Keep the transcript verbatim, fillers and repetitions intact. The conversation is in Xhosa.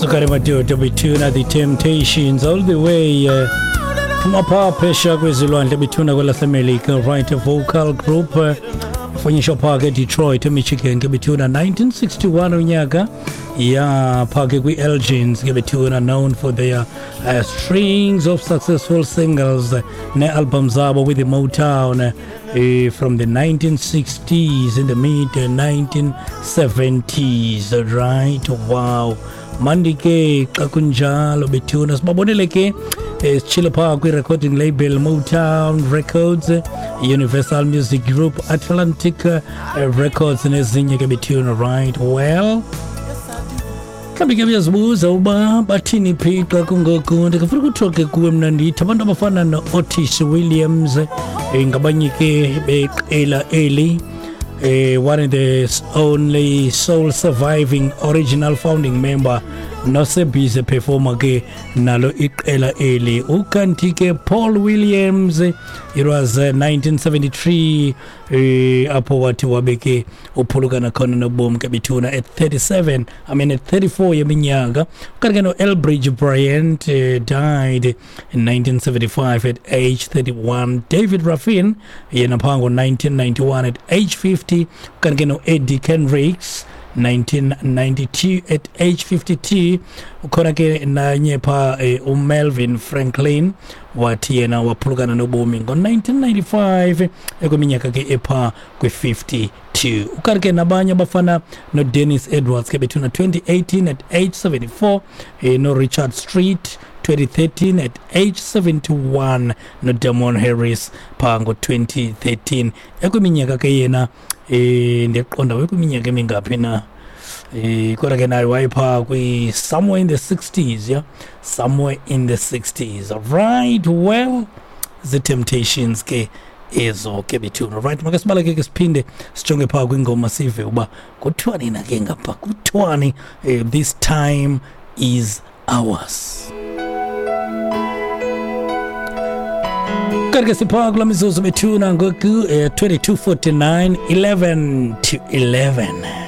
Sukari madoda bethuna, The Temptations, all the way uh, phuma phaa phesha kwezilwandle bethuna kwelaseMelika, right? Vocal group uh, fonyisha phaa ke Detroit, eMichigan ke bethuna, nineteen sixty-one unyaka ya phaa ke kwi-Elgins ke bethuna, known for their uh, strings of successful singles uh, ne-album zabo with the Motown uh, from the nineteen sixties in the mid nineteen seventies, right? Wow, mandi ke xa kunjalo bethuna. Sibabonele ke eh, sitshile phaa kwi-recording label Motown Records, Universal Music Group, Atlantic uh, Records nezinye ke bethuna, right? Well, mhlawumbi ke uyazibuza uba bathini phi xa kungoku. Ndingafuna ukuthiwa ke kuwe mna ndithi abantu abafana no-Otis Williams eh, ngabanye ke beqela eli, eh, one of the only sole surviving original founding member nosebhizi performer ke nalo iqela eli. Ukanti ke Paul Williams, it was uh, nineteen seventy-three eh, apho wathi wabe ke uphulukana khona nobomi ke bethuna at thirty-seven, I mean at thirty-four yeminyaka. Ukanti ke no-Elbridge Bryant uh, died in nineteen seventy-five at age thirty-one. David Ruffin yena phaa ngo-nineteen ninety-one at age fifty. Ukanti ke no-Eddie Kendricks, nineteen ninety-two at age fifty-two. Ukhona ke nanye pha eh, uMelvin Franklin, wathi yena waphulukana nobomi ngo-nineteen ninety-five ekwiminyaka ke epha kwi-fifty-two. Ukanti ke nabanye abafana noDennis Edwards ke bethuna, twenty eighteen at age seventy-four, eh, noRichard Street, twenty thirteen at age seventy-one, noDamon Harris phaa ngo-twenty thirteen ekwiminyaka ke yena eh ndiyakuqonda wekwiminyaka emingaphi na eh kodwa ke naye wayephaa kwi somewhere in the sixties, yeah, somewhere in the sixties, right? Well, the Temptations ke ezo ke bethuna, right? Make sibaleke ke siphinde sijonge phaa kwingoma, sive uba kuthiwani na ke ngapha, kuthiwani eh, "This Time Is Ours". Kanti ke siphaa kula mizuzu bethuna ngoku eh, twenty-two forty-nine, eleven to eleven.